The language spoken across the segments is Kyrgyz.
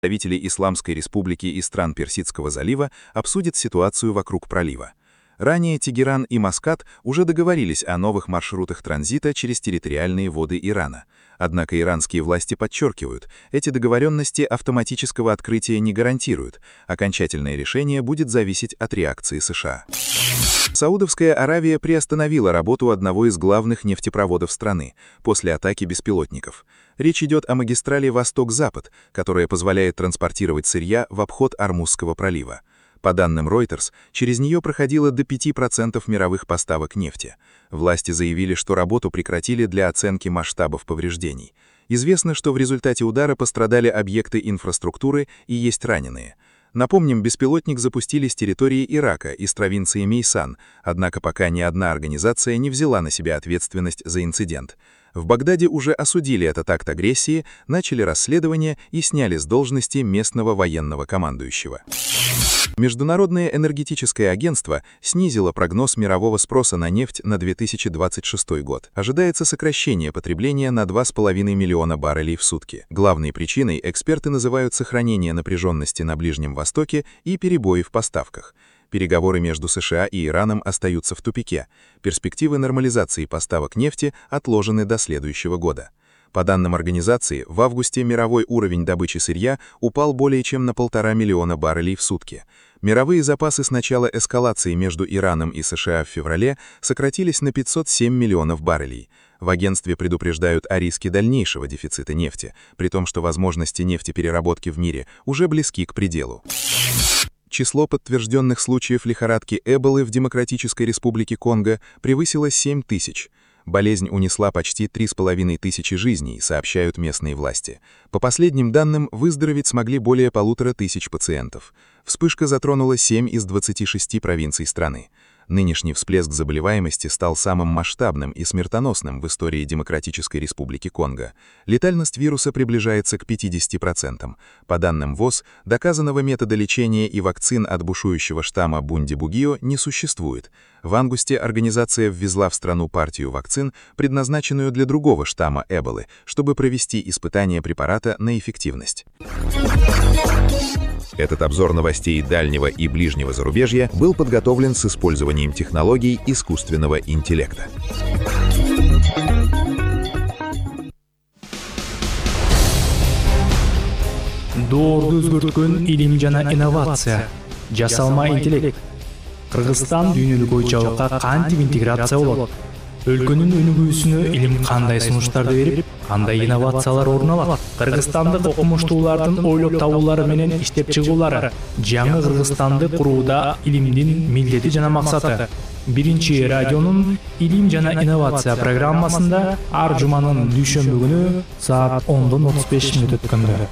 Представители Исламской республики и стран Персидского залива обсудят ситуацию вокруг пролива. Ранее Тегеран и Маскат уже договорились о новых маршрутах транзита через территориальные воды Ирана. Однако иранские власти подчеркивают, эти договоренности автоматического открытия не гарантируют. Окончательное решение будет зависеть от реакции США. Саудовская Аравия приостановила работу одного из главных нефтепроводов страны после атаки беспилотников. Речь идет о магистрали Восток-Запад, которая позволяет транспортировать сырья в обход Ормузского пролива. По данным Reuters, через нее проходило до 5% мировых поставок нефти. Власти заявили, что работу прекратили для оценки масштабов повреждений. Известно, что в результате удара пострадали объекты инфраструктуры и есть раненые. Напомним, беспилотник запустили с территории Ирака, из провинции Мейсан, однако пока ни одна организация не взяла на себя ответственность за инцидент. В Багдаде уже осудили этот акт агрессии, начали расследование и сняли с должности местного военного командующего. Международное энергетическое агентство снизило прогноз мирового спроса на нефть на 2026 год. Ожидается сокращение потребления на 2,5 миллиона баррелей в сутки. Главной причиной эксперты называют сохранение напряженности на Ближнем Востоке и перебои в поставках. Переговоры между США и Ираном остаются в тупике. Перспективы нормализации поставок нефти отложены до следующего года. По данным организации, в августе мировой уровень добычи сырья упал более чем на 1,5 миллиона баррелей в сутки. Мировые запасы с начала эскалации между Ираном и США в феврале сократились на 507 миллионов баррелей. В агентстве предупреждают о риске дальнейшего дефицита нефти, при том, что возможности нефтепереработки в мире уже близки к пределу. Число подтвержденных случаев лихорадки Эболы в Демократической Республике Конго превысило 7 тысяч. Болезнь унесла почти 3,5 тысячи жизней, сообщают местные власти. По последним данным, выздороветь смогли более 1500 пациентов. Вспышка затронула 7 из 26 провинций страны. Нынешний всплеск заболеваемости стал самым масштабным и смертоносным в истории Демократической Республики Конго. Летальность вируса приближается к 50%. По данным ВОЗ, доказанного метода лечения и вакцин от бушующего штамма Бунди-Бугио не существует. В августе организация ввезла в страну партию вакцин, предназначенную для другого штамма Эболы, чтобы провести испытания препарата на эффективность. Этот обзор новостей дальнего и ближнего зарубежья был подготовлен с использованием технологий искусственного интеллекта. Доорду өзгөрткөн илим жана инновация, жасалма интеллект. Кыргызстан дүйнөлүк ой-чабакка кантип интеграция болот? Өлкөнүн өнүгүүсүнө илим кандай сунуштарды берип, кандай инновациялар орун алат? Кыргызстандык окумуштуулардын ойлоп табуулары менен иштеп чыгуулары жаңы Кыргызстанды курууда илимдин милдети жана максаты. Биринчи радионун илим жана инновация программасында ар жуманын дүйшөмбү күнү саат 10:35 өткөндө.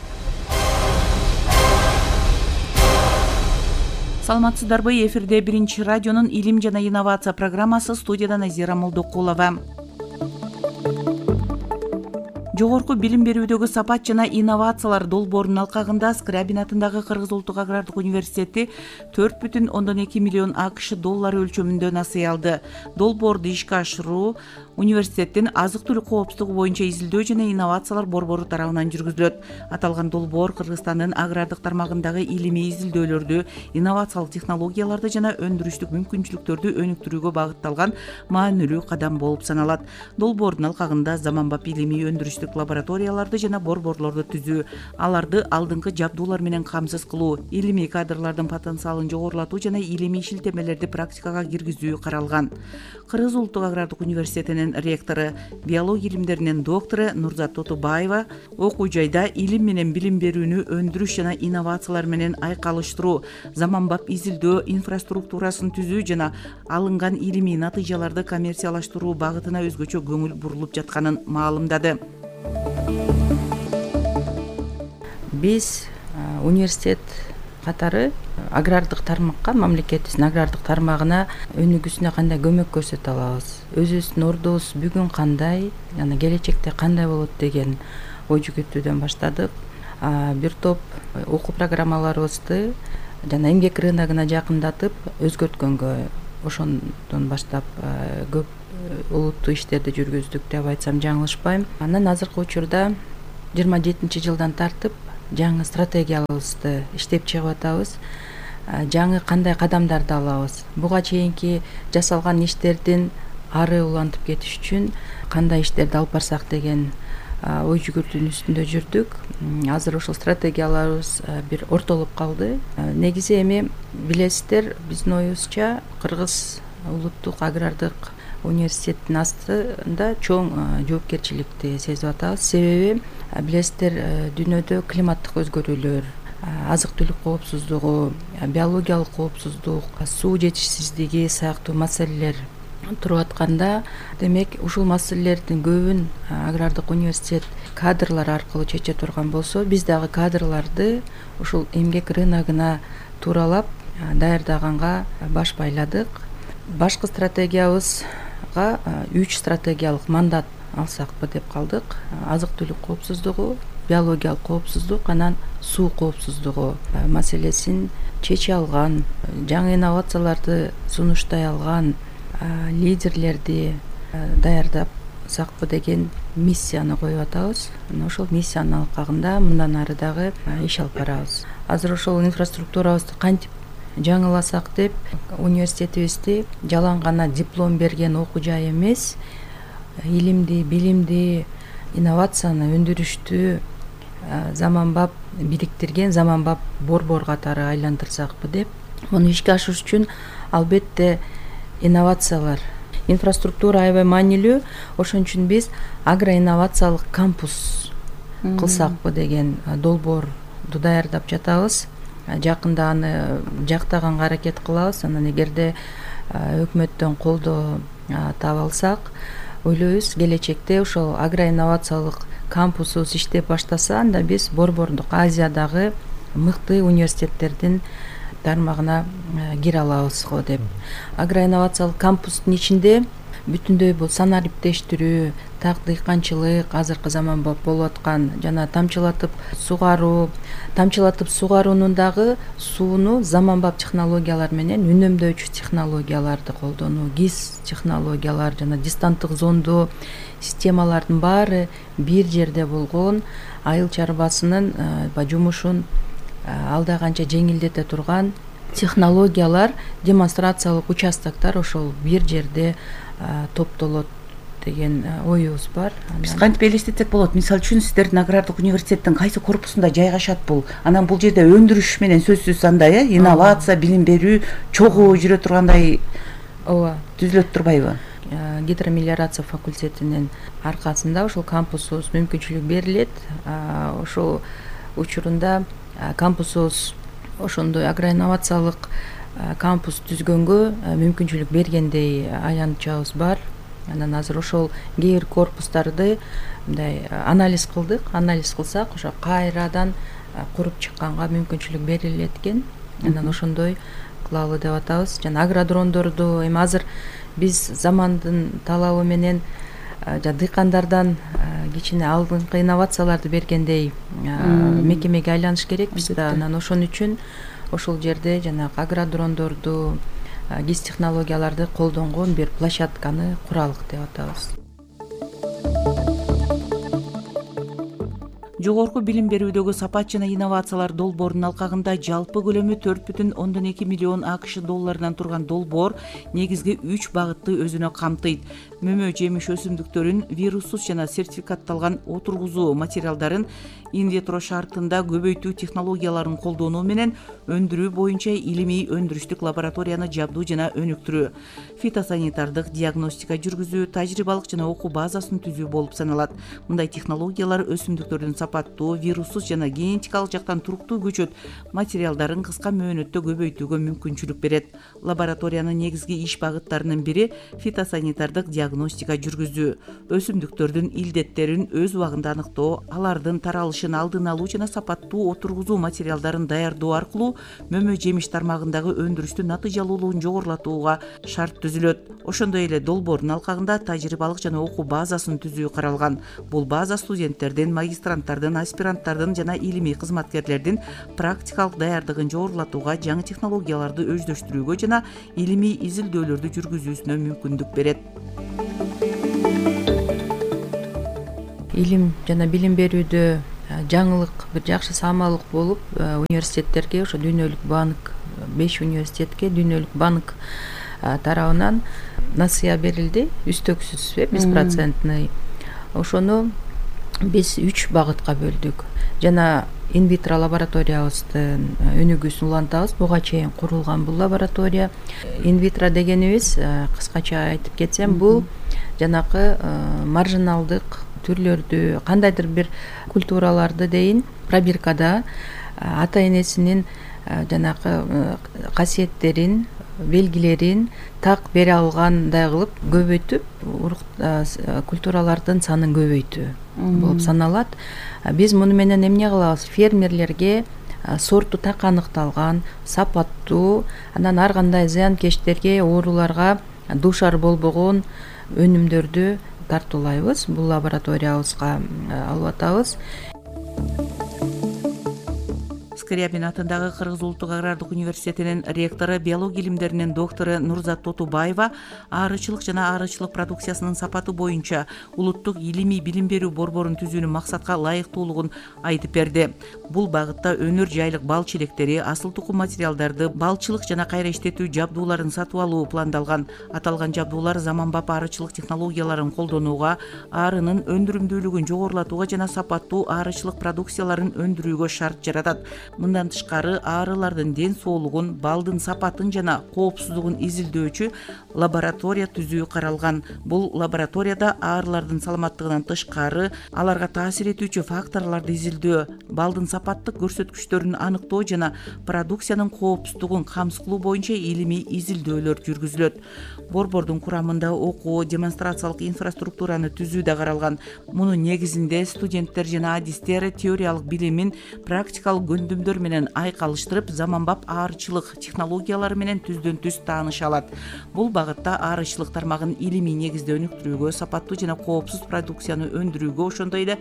Саламатсыздарбы, эфирде биринчи радионун илим жана инновация программасы, студияда Назира Молдокулова. Жогорку билим берүүдөгү сапат жана инновациялар долбоорунун алкагында Скрябин атындагы Кыргыз улуттук агрардык университети 4,2 миллион АКШ доллары өлчөмүндө насыя алды. Долбоорду ишке ашыруу университеттин азык-түлүк коопсуздугу боюнча изилдөө жана инновациялар борбору тарабынан жүргүзүлөт. Аталган долбоор Кыргызстандын агрардык тармагындагы илимий изилдөөлөрдү, инновациялык технологияларды жана өндүрүштүк мүмкүнчүлүктөрдү өнүктүрүүгө багытталган маанилүү кадам болуп саналат. Долбоордун алкагында заманбап илимий өндүрүштүк лабораторияларды жана борборлорду түзүү, аларды алдыңкы жабдуулар менен камсыз кылуу, илимий кадрлардын потенциалын жогорулатуу жана илимий шилтемелерди практикага киргизүү каралган. Кыргыз улуттук агрардык университетинин ректору, биология илимдеринин доктору Нурзат Тотубаева окуу жайда илим менен билим берүүнү өндүрүш жана инновациялар менен айкалыштыруу, заманбап изилдөө инфраструктурасын түзүү жана алынган илимий натыйжаларды коммерциялаштыруу багытына өзгөчө көңүл бурулуп жатканын маалымдады. Биз университет катары агрардык тармакка, мамлекетибиздин агрардык тармагына өнүгүүсүнө кандай көмөк көрсөтө алабыз, өзүбүздүн ордубуз бүгүн кандай, жана келечекте кандай болот деген ой жүгүртүүдөн баштадык. Бир топ окуу программаларыбызды жана эмгек рыногуна жакындатып өзгөрткөнгө ошондон баштап көп улуттуу иштерди жүргүздүк деп айтсам жаңылышпайм. Анан азыркы учурда 27-жылдан тартып жаңы стратегиябызды иштеп чыгып атабыз. Жаңы кандай кадамдарды алабыз, буга чейинки жасалган иштердин ары улантып кетиш үчүн кандай иштерди алып барсак деген ой жүгүртүүнүн үстүндө жүрдүк. Азыр ошол стратегияларыбыз бир ортолуп калды. Негизи эми билесиздер, биздин оюбузча Кыргыз улуттук агрардык университеттин астында чоң жоопкерчиликти сезип атабыз. Себеби билесиздер, дүйнөдө климаттык өзгөрүүлөр, азык түлүк коопсуздугу, биологиялык коопсуздук, суу жетишсиздиги сыяктуу маселелер туруп атканда, демек ушул маселелердин көбүн агрардык университет кадрлар аркылуу чече турган болсо, биз дагы кадрларды ушул эмгек рыногуна тууралап даярдаганга баш байладык. Башкы стратегиябызга 3 стратегиялык мандат алсакпы деп калдык. Азык түлүк коопсуздугу, биологиялык коопсуздук, анан суу коопсуздугу маселесин чече алган, жаңы инновацияларды сунуштай алган лидерлерди даярдасакпы деген миссияны коюп атабыз. Ошол миссиянын алкагында мындан ары дагы иш алып барабыз. Азыр ошол инфраструктурабызды кантип жаңыласак деп, университетибизди жалаң гана диплом берген окуу жай эмес, илимди, билимди, инновацияны өндүрүштү заманбап бириктирген заманбап борбор катары айландырсакпы деп. Муну ишке ашырыш үчүн албетте инновациялар, инфраструктура аябай маанилүү. Ошон үчүн биз агроинновациялык кампус кылсакпы деген долбоорду даярдап жатабыз. Жакында аны жактаганга аракет кылабыз. Анан эгерде өкмөттөн колдоо таба алсак, ойлойбуз келечекте ошол агроинновациялык кампусубуз иштеп баштаса, анда биз борбордук Азиядагы мыкты университеттердин тармагына кире алабыз го деп. Агроинновациялык кампустун ичинде бүтүндөй бул санариптештирүү, так дыйканчылык, азыркы заманбап болуп аткан жана тамчылатып сугаруунун дагы сууну заманбап технологиялар менен үнөмдөөчү технологияларды колдонуу, ГИС технологиялар жана дистанттык зондоо системалардын баары бир жерде болгон, айыл чарбасынын жумушун алда канча жеңилдете турган технологиялар, демонстрациялык участоктор ошол бир жерде топтолот деген оюбуз бар. Биз кантип элестетсек болот? Мисалы үчүн сиздердин агрардык университеттин кайсы корпусунда жайгашат бул? Анан бул жерде өндүрүш менен сөзсүз андай инновация, билим берүү чогуу жүрө тургандай түзүлөт турбайбы? Гидромелиорация факультетинин аркасында ошол кампусубуз мүмкүнчүлүк берилет. Ошол учурунда кампусубуз ошондой агроинновациялык кампус түзгөнгө мүмкүнчүлүк бергендей аянтчабыз бар. Анан азыр ошол кээ бир корпустарды мындай анализ кылдык. Анализ кылсак, ошо кайрадан куруп чыкканга мүмкүнчүлүк берилет экен. Анан ошондой кылалы деп атабыз. Жана агродрондорду эми азыр биз замандын талабы менен дыйкандардан кичине алдыңкы инновацияларды бергендей мекемеге айланыш керекпиз да. Анан ошон үчүн ошол жерде жанагы агродрондорду, ГИС технологияларды колдонгон бир площадканы куралык деп атабыз. Жогорку билим берүүдөгү сапат жана инновациялар долбоорунун алкагында жалпы көлөмү 4,2 миллион АКШ долларынан турган долбоор негизги 3 багытты өзүнө камтыйт. Мөмө жемиш өсүмдүктөрүн вируссуз жана сертификатталган отургузуу материалдарын инвитро шартында көбөйтүү технологияларын колдонуу менен өндүрүү боюнча илимий өндүрүштүк лабораторияны жабдуу жана өнүктүрүү, фитосанитардык диагностика жүргүзүү, тажрыйбалык жана окуу базасын түзүү болуп саналат. Мындай технологиялар өсүмдүктөрдүн сапаттуу, вируссуз жана генетикалык жактан туруктуу көчөт материалдарын кыска мөөнөттө көбөйтүүгө мүмкүнчүлүк берет. Лабораториянын негизги иш багыттарынын бири фитосанитардык диагностика жүргүзүү, өсүмдүктөрдүн илдеттерин өз убагында аныктоо, алардын таралышын алдын алуу жана сапаттуу отургузуу материалдарын даярдоо аркылуу мөмө жемиш тармагындагы өндүрүштүн натыйжалуулугун жогорулатууга шарт түзүлөт. Ошондой эле долбоордун алкагында тажрыйбалык жана окуу базасын түзүү каралган. Бул база студенттердин, магистранттардын, аспиранттардын жана илимий кызматкерлердин практикалык даярдыгын жогорулатууга, жаңы технологияларды өздөштүрүүгө жана илимий изилдөөлөрдү жүргүзүүсүнө мүмкүндүк берет. Илим жана билим берүүдө жаңылык, бир жакшы самалдык болуп университеттерге, ошо дүйнөлүк банк, 5 университетке дүйнөлүк банк тарабынан насыя берилди, үстөксүз беспроцентный. Ошону биз 3 багытка бөлдүк. Жана инвитро лабораториябыздын өнүгүүсүн улантабыз. Буга чейин курулган бул лаборатория. Инвитро дегенибиз, кыскача айтып кетсем, бул жанакы маржиналдык түрлөрдү, кандайдыр бир культураларды дейин пробиркада ата энесинин жанакы касиеттерин, белгилерин так бере алгандай кылып көбөйтүп, культуралардын санын көбөйтүү болуп саналат. Биз муну менен эмне кылабыз? Фермерлерге сорту так аныкталган, сапаттуу, анан ар кандай зыянкечтерге, ооруларга дуушар болбогон өнүмдөрдү тартуулайбыз. Бул лабораториябызга алып атабыз. Скрябин атындагы Кыргыз улуттук агрардык университетинин ректору, биология илимдеринин доктору Нурзат Тотубаева аарычылык жана аарычылык продукциясынын сапаты боюнча улуттук илимий билим берүү борборун түзүүнүн максатка ылайыктуулугун айтып берди. Бул багытта өнөр жайлык бал челектери, асыл тукум материалдарды, балчылык жана кайра иштетүү жабдууларын сатып алуу пландалган. Аталган жабдуулар заманбап аарычылык технологияларын колдонууга, аарынын өндүрүмдүүлүгүн жогорулатууга жана сапаттуу аарычылык продукцияларын өндүрүүгө шарт жаратат. Мындан тышкары аарылардын ден соолугун, балдын сапатын жана коопсуздугун изилдөөчү лаборатория түзүү каралган. Бул лабораторияда аарылардын саламаттыгынан тышкары аларга таасир этүүчү факторлорду изилдөө, балдын сапаттык көрсөткүчтөрүн аныктоо жана продукциянын коопсуздугун камсыз кылуу боюнча илимий изилдөөлөр жүргүзүлөт. Борбордун курамында окуу, демонстрациялык инфраструктураны түзүү да каралган. Мунун негизинде студенттер жана адистер теориялык билимин практикалык көндүмдөр менен айкалыштырып, заманбап аарычылык технологиялары менен түздөн түз тааныша алат. Бул багытта аарычылык тармагын илимий негизде өнүктүрүүгө, сапаттуу жана коопсуз продукцияны өндүрүүгө, ошондой эле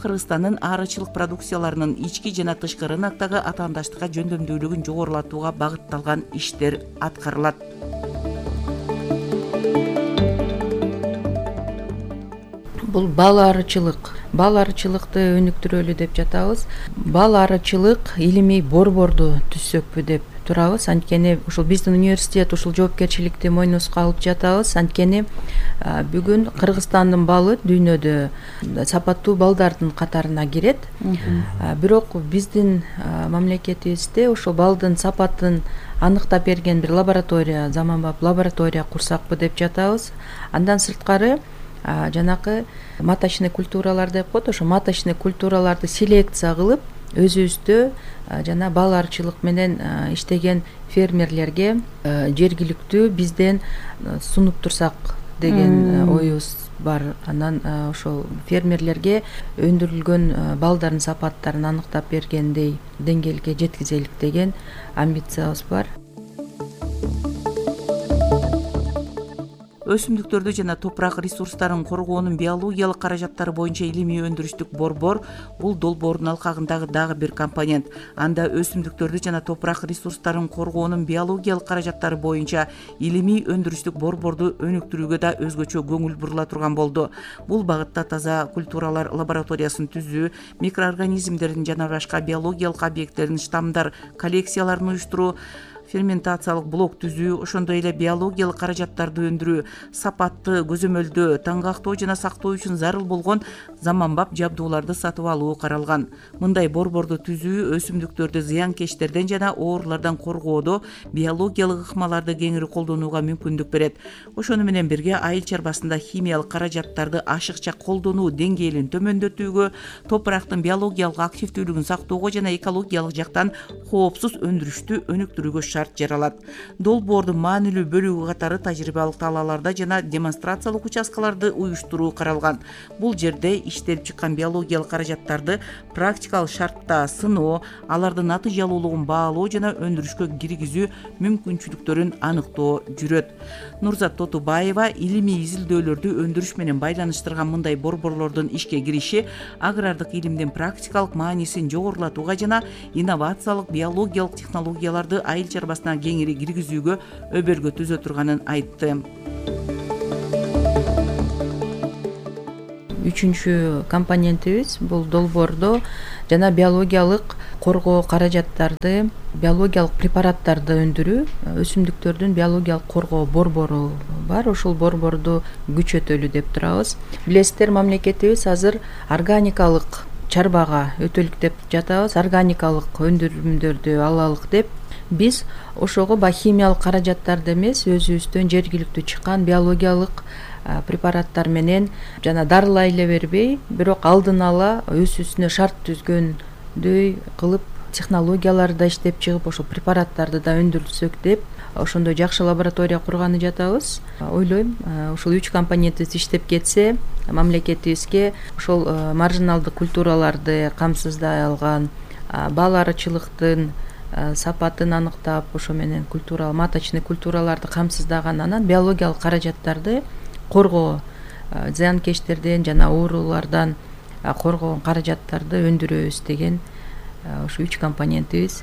Кыргызстандын аарычылык продукцияларынын ички жана тышкы рыноктогу атаандаштыкка жөндөмдүүлүгүн жогорулатууга багытталган иштер аткарылат. Бул бал аарычылыкты өнүктүрөлү деп жатабыз. Бал аарычылык илимий борборду түзсөкпү деп турабыз. Анткени ушул биздин университет ушул жоопкерчиликти мойнубузга алып жатабыз. Анткени бүгүн Кыргызстандын балы дүйнөдө сапаттуу балдардын катарына кирет. Бирок биздин мамлекетибизде ошол балдын сапатын аныктап берген бир лаборатория, заманбап лаборатория курсакпы деп жатабыз. Андан сырткары жанакы маточный культуралар деп коет, ошо маточный культураларды селекция кылып, өзүбүздө жана бал аарычылык менен иштеген фермерлерге жергиликтүү бизден сунуп турсак деген оюбуз бар. Анан ошол фермерлерге өндүрүлгөн балдардын сапаттарын аныктап бергендей деңгээлге жеткизелик деген амбициябыз бар. Өсүмдүктөрдү жана топурак ресурстарын коргоонун биологиялык каражаттары боюнча илимий өндүрүштүк борбор бул долбоордун алкагындагы дагы бир компонент. Анда өсүмдүктөрдү жана топурак ресурстарын коргоонун биологиялык каражаттары боюнча илимий өндүрүштүк борборду өнүктүрүүгө да өзгөчө көңүл бурула турган болду. Бул багытта таза культуралар лабораториясын түзүү, микроорганизмдердин жана башка биологиялык объекттердин штаммдар коллекцияларын уюштуруу, ферментациялык блок түзүү, ошондой эле биологиялык каражаттарды өндүрүү, сапатты көзөмөлдөө, таңгактоо жана сактоо үчүн зарыл болгон заманбап жабдууларды сатып алуу каралган. Мындай борборду түзүү өсүмдүктөрдү зыянкечтерден жана оорулардан коргоодо биологиялык ыкмаларды кеңири колдонууга мүмкүндүк берет. Ошону менен бирге айыл чарбасында химиялык каражаттарды ашыкча колдонуу деңгээлин төмөндөтүүгө, топурактын биологиялык активдүүлүгүн сактоого жана экологиялык жактан коопсуз өндүрүштү өнүктүрүүгө шарт жаралат. Долбоордун маанилүү бөлүгү катары тажрыйбалык талааларда жана демонстрациялык участкаларды уюштуруу каралган. Бул жерде иштелип чыккан биологиялык каражаттарды практикалык шартта сыноо, алардын натыйжалуулугун баалоо жана өндүрүшкө киргизүү мүмкүнчүлүктөрүн аныктоо жүрөт. Нурзат Тотубаева илимий изилдөөлөрдү өндүрүш менен байланыштырган мындай борборлордун ишке кириши агрардык илимдин практикалык маанисин жогорулатууга жана инновациялык биологиялык технологияларды айыл чарбасына кеңири киргизүүгө өбөлгө түзө турганын айтты. үчүнчү компонентибиз бул долбоордо жана биологиялык коргоо каражаттарды, биологиялык препараттарды өндүрүү, өсүмдүктөрдүн биологиялык коргоо борбору бар. Ошол борборду күчөтөлү деп турабыз. Билесиздер, мамлекетибиз азыр органикалык чарбага өтөлүк деп жатабыз. Органикалык өндүрүмдөрдү алалык деп биз ошого химиялык каражаттарды эмес, өзүбүздөн жергиликтүү чыккан биологиялык препараттар менен жана дарылай эле бербей, бирок алдын ала өз-өзүнө шарт түзгөндөй кылып технологияларды иштеп чыгып, ошол препараттарды да өндүрсөк деп ошондой жакшы лаборатория курганы жатабыз. Ойлойм, ушул 3 компонентибиз иштеп кетсе, мамлекетибизге ошол маржиналдык культураларды камсыздай алган, бал арычылыктын сапатын аныктап, ошо менен маточный культураларды камсыздаган, анан биологиялык каражаттарды коргоо, зыянкечтерден жана оорулардан коргогон каражаттарды өндүрөбүз деген ушу 3 компонентибиз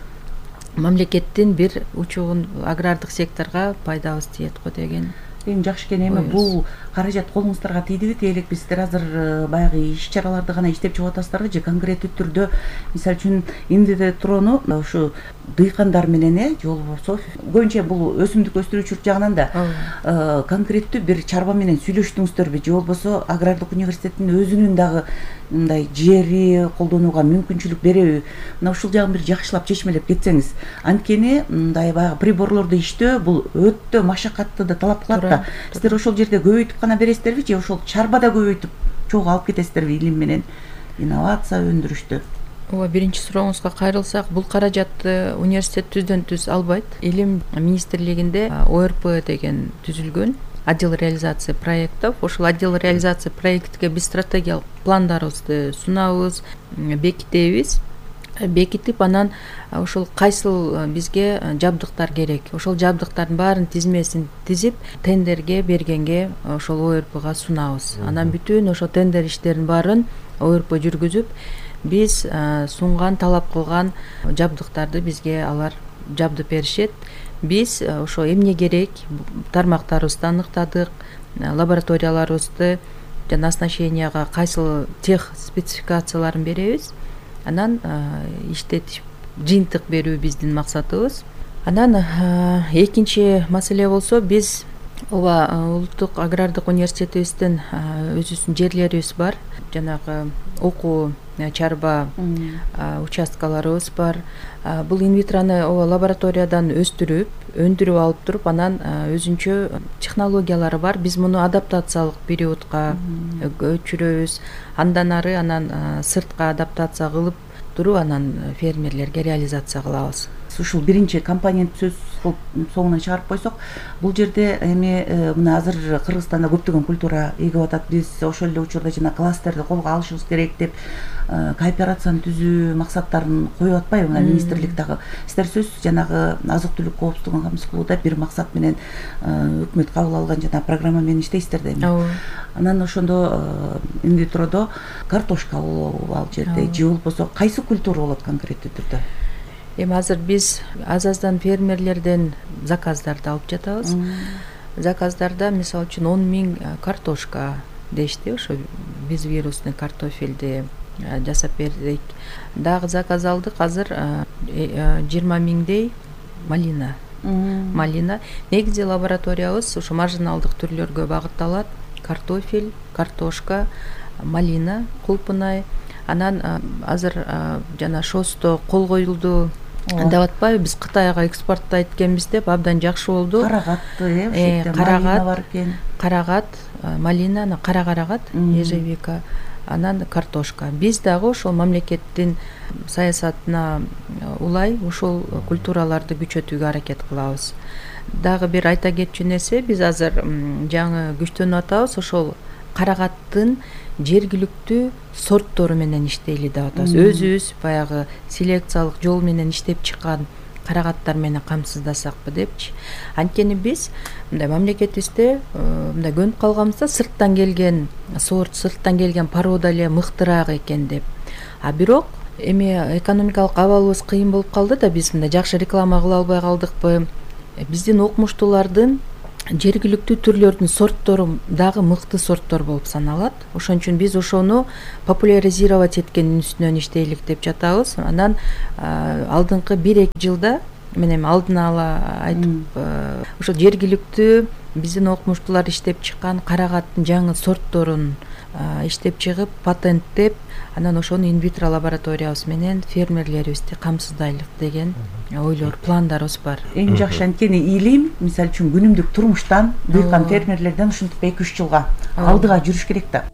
мамлекеттин бир учугун агрардык секторго пайдабыз тиет го деген. Эң жакшы экен. Эми бул каражат колуңуздарга тийдиби, тиелек сиздер азыр баягы иш-чараларды гана иштеп чыгып атасыздарбы же конкреттүү түрдө, мисалы үчүн индитрону ушу дыйкандар менен же болбосо көбүнчө бул өсүмдүк өстүрүүчүлүк жагынан да конкреттүү бир чарба менен сүйлөштүңүздөрбү же болбосо агрардык университеттин өзүнүн дагы мындай жери колдонууга мүмкүнчүлүк береби? Мына ушул жагын бир жакшылап чечмелеп кетсеңиз. Анткени мындай баягы приборлорду иштөө бул өтө машакатты да талап кылат да. Сиздер ошол жерде көбөйтүп гана бересиздерби же ошол чарбада көбөйтүп чогуу алып кетесиздерби илим менен инновация өндүрүштү? Ооба, биринчи сурооңузга кайрылсак, бул каражатты университет түздөн түз албайт. Илим министрлигинде ОРП деген түзүлгөн, отдел реализации проектов. Ошол отдел реализации проектке биз стратегиялык пландарыбызды сунабыз, бекитебиз. Бекитип, анан ошол кайсыл бизге жабдыктар керек, ошол жабдыктардын баарын тизмесин тизип, тендерге бергенге ошол ОРПга сунабыз. Анан бүтүн ошол тендер иштерин баарын ОРП жүргүзүп, биз сунган, талап кылган жабдыктарды бизге алар жабдып беришет. Биз ошо эмне керек тармактарыбызды аныктадык, лабораторияларыбызды жана оснащенияга кайсыл тех спецификацияларын беребиз. Анан иштетип жыйынтык берүү биздин максатыбыз. Анан экинчи маселе болсо, биз ооба улуттук агрардык университетибиздин өзүбүздүн жерлерибиз бар, жанагы окуу чарба участкаларыбыз бар. Бул инвитрону ооба лабораториядан өстүрүп, өндүрүп алып туруп, анан өзүнчө технологиялары бар. Биз муну адаптациялык периодко өчүрөбүз. Андан ары анан сыртка адаптация кылып туруп, анан фермерлерге реализация кылабыз. Ушул биринчи компонент сөз кылып соңуна чыгарып койсок, бул жерде эми мына азыр Кыргызстанда көптөгөн культура эгип атат. Биз ошол эле учурда жана кластерди колго алышыбыз керек деп кооперацияны түзүү максаттарын коюп атпайбы мына министрлик дагы? Сиздер сөзсүз жанагы азык-түлүк коопсуздугун камсыз кылууда бир максат менен өкмөт кабыл алган жана программа менен иштейсиздер да эми. Анан ошондо инвитродо картошка болобу ал жерде же болбосо кайсы культура болот конкреттүү түрдө? Эми азыр биз аз-аздан фермерлерден заказдарды алып жатабыз. Заказдарда мисалы үчүн 10 000 картошка дешти, ошо биз вирусный картофелди жасап бердик. Дагы заказ алдык, азыр 20 000дей малина. Малина. Негизи лабораториябыз ошо маржиналдык түрлөргө багытталат. Картофель, картошка, малина, кулпунай. Анан азыр жана шосто кол коюлду деп атпайбы, биз Кытайга экспорттойт экенбиз деп абдан жакшы болду. Карагатты, малина бар экен. Карагат, малина, кара карагат, ежевика, анан картошка. Биз дагы ошол мамлекеттин саясатына улай ушул культураларды күчөтүүгө аракет кылабыз. Дагы бир айта кетчү нерсе, биз азыр жаңы күчтөнүп атабыз, ошол карагаттын жергиликтүү сорттору менен иштейли деп атабыз. Өзүбүз баягы селекциялык жол менен иштеп чыккан карагаттар менен камсыздасакпы депчи. Анткени биз мындай мамлекетибизде мындай көнүп калганбыз да, сырттан келген сорт, сырттан келген порода эле мыктыраак экен деп. Бирок эми экономикалык абалыбыз кыйын болуп калды да, биз мындай жакшы реклама кыла албай калдыкпы? Биздин окумуштуулардын жергиликтүү түрлөрдүн сорттору дагы мыкты сорттор болуп саналат. Ошон үчүн биз ошону популяризировать эткендин үстүнөн иштейлик деп жатабыз. Анан алдыңкы 1-2 жылда мен эми алдын ала айтып, ошо жергиликтүү биздин окумуштуулар иштеп чыккан карагаттын жаңы сортторун иштеп чыгып, патенттеп, анан ошону инвитро лабораториябыз менен фермерлерибизди камсыздайлык деген ойлор, пландарыбыз бар. Эң жакшы анткени илим, мисалы үчүн күнүмдүк турмуштан дыйкан фермерлерден ушинтип 2-3 жылга алдыга жүрүш керек да.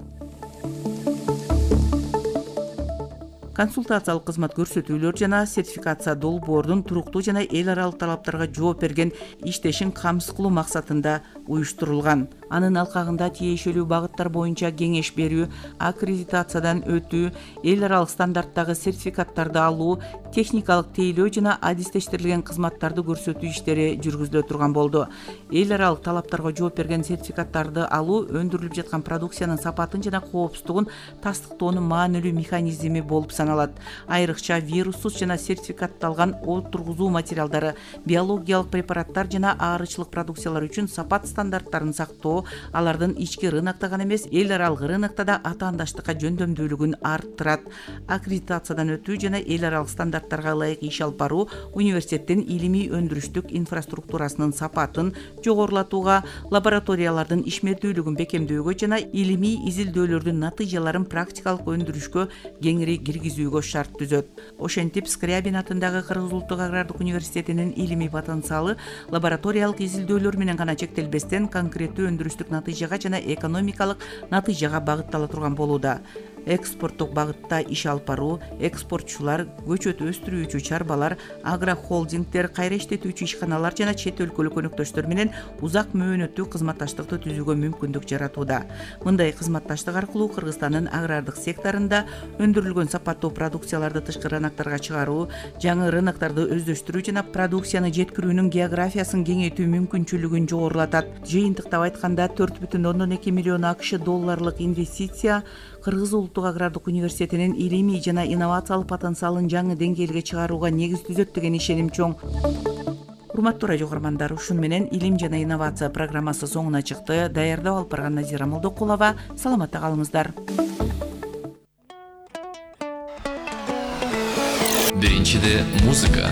Консультациялык кызмат көрсөтүүлөр жана сертификация долбоордун туруктуу жана эл аралык талаптарга жооп берген иштешин камсыз кылуу максатында уюштурулган. Анын алкагында тиешелүү багыттар боюнча кеңеш берүү, аккредитациядан өтүү, эл аралык стандарттагы сертификаттарды алуу, техникалык тейлөө жана адистештирилген кызматтарды көрсөтүү иштери жүргүзүлө турган болду. Эл аралык талаптарга жооп берген сертификаттарды алуу өндүрүлүп жаткан продукциянын сапатын жана коопсуздугун тастыктоонун маанилүү механизми болуп саналат. Айрыкча вируссуз жана сертификатталган отургузуу материалдары, биологиялык препараттар жана аарычылык продукциялар үчүн сапат стандарттарын сактоо, алардын ички рынокто гана эмес, эл аралык рынокто да атаандаштыкка жөндөмдүүлүгүн арттырат. Аккредитациядан өтүү жана эл аралык стандарттарга ылайык иш алып баруу университеттин илимий өндүрүштүк инфраструктурасынын сапатын жогорулатууга, лабораториялардын ишмердүүлүгүн бекемдөөгө жана илимий изилдөөлөрдүн натыйжаларын практикалык өндүрүшкө кеңири киргизүүгө шарт түзөт. Ошентип, Скрябин атындагы Кыргыз Улуттук агрардык университетинин илимий потенциалы лабораториялык изилдөөлөр менен гана чектелбестен конкреттүү өндүрүштүк натыйжага жана экономикалык натыйжага багыттала турган болууда. Экспорттук багытта иш алып баруу, экспортчулар, көчөт өстүрүүчү чарбалар, агрохолдингдер, кайра иштетүүчү ишканалар жана чет өлкөлүк өнөктөштөр менен узак мөөнөттүү кызматташтыкты түзүүгө мүмкүндүк жаратууда. Мындай кызматташтык аркылуу Кыргызстандын агрардык секторунда өндүрүлгөн сапаттуу продукцияларды тышкы рыноктарга чыгаруу, жаңы рыноктарды өздөштүрүү жана продукцияны жеткирүүнүн географиясын кеңейтүү мүмкүнчүлүгүн жогорулатат. Жыйынтыктап айтканда 4,2 миллион АКШ долларлык инвестиция Кыргыз Улуттук агрардык университетинин илимий жана инновациялык потенциалын жаңы деңгээлге чыгарууга негиз түзөт деген ишеним чоң. Урматтуу радио көрөрмандар, ушун менен илим жана инновация программасы соңуна чыкты. Даярдап алып барган Назира Молдокулова. Саламатта калыңыздар. Биринчиде музыка.